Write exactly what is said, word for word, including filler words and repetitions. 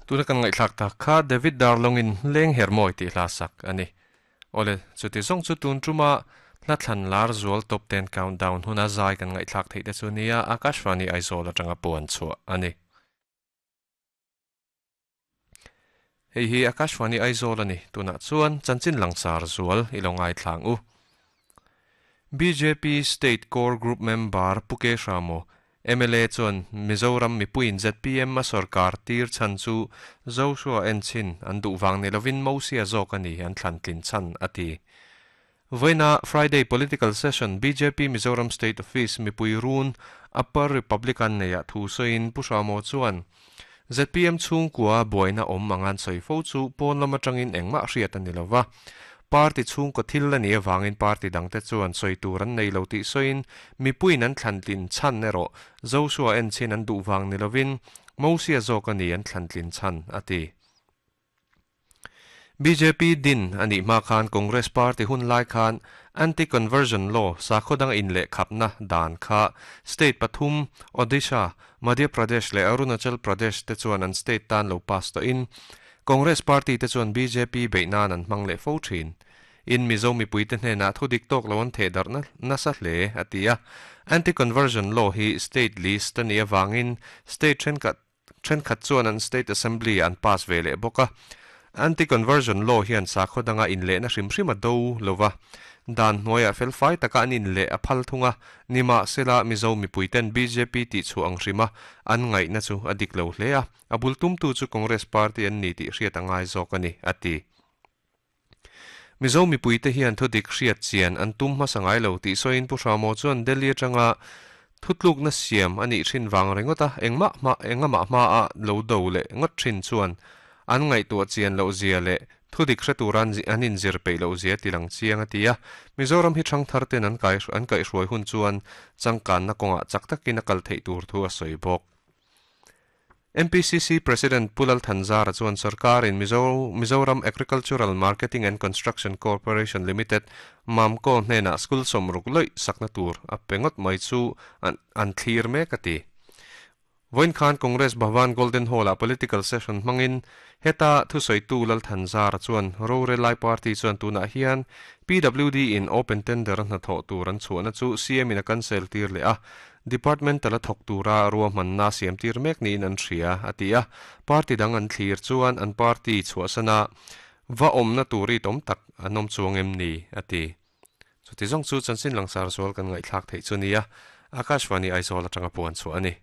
Tuna kan ngaihthlak tak kha David Darlongin leng hermawi tih hla sak ani. Ole chuti zawng chu tun tuma hla thlan lar zual top ten countdown huna zai kan ngaihthlak theih te chu nia Akashvani Aizawl atanga puan chhuah ani. Hei hi Akashvani Aizawl ani tuna chuan chanchin langsar zual ilo ngai thlang u. B J P State Core Group member Puke Ramo M L A chuan Mizoram mipuiin Z P M a sarkar tir chan chu Joshua Enchin an duhwang ni lovin Mosia zawk ani an thlan tlin chan ati. Voina Friday political session B J P Mizoram State Office mipui run Upper Republican neia thu soin Pusamo chuan Z P M chung kwa buaina om mangan soi fo chu pawn lama tangin engma hriat ani lova. Party chung ko thil ani awangin party dangte chuan soi tur an nei lo ti soin mipuin an thlan tlin chan ero Joshua Enchin an duhwang ni lovin Mosia zawk ani an thlan tlin chan ati. B J P din ani ma khan Congress Party hun lai khan anti-conversion law sakhodang in le khapna dan kha state pathum Odisha Madhya Pradesh le Arunachal Pradesh te chuan an state tan lo pass to in Congress Party te chuan B J P beinan an hmang le fo thin in Mizo mipui te hnena thu dik tok lo an the dar na nasa hle atia anti-conversion law hi state list ani awangin state then khat then khat chuan an state assembly an pass ve le boka anti-conversion law hian sakhodanga in le na hrim hrim a do lova dan hnuaia fel fai taka an in le a phal thunga nima sela Mizo mipuiten B J P ti chu ang hrima an ngai na chu adik lo hle a abul tum tu chu Congress Party an ni ti hriat angai zawk ani ati. Mizo mipuite hian thu dik hriat chian an tum hmasangai lo ti soin pu Ramo chuan Delhi atanga thutluk na siam ani thin wang ringota engma ma engama ma a lo do le ngot thin chuan an ngai tu chian lo zia le thu dik hre turan an in zir pe lo zia tilang chiang atia Mizoram hi thang thar ten an kai an kai hruai hun chuan changkan na konga chak takin a kal thei tur thu a soi bawk. M P C C President Pulal Thanzara chuan sarkar in Mizo Mizoram Agricultural Marketing and Construction Corporation Limited Mamco hnena school somruk loi sakna tur a pengot mai chu an an thlir mek ati. Voin Khan Congress Bhavan Golden Hall a political session mangin heta thu soitu Lal Thanzara chuan Rore Lai Party chuan tuna hian P W D in open tender na tho tur an chuana chu C M in a cancel tir le a department tala thok tura ruahman na siam tir mek ni in an hria atia party dang an thlir chuan an party chhuasana va om na turi tom tak anom chuang em ni ati. Chuti zawng chu chanchin langsar zual kan ngaihthlak theih chu nia Akashvani Aizawl atanga puan chu ani.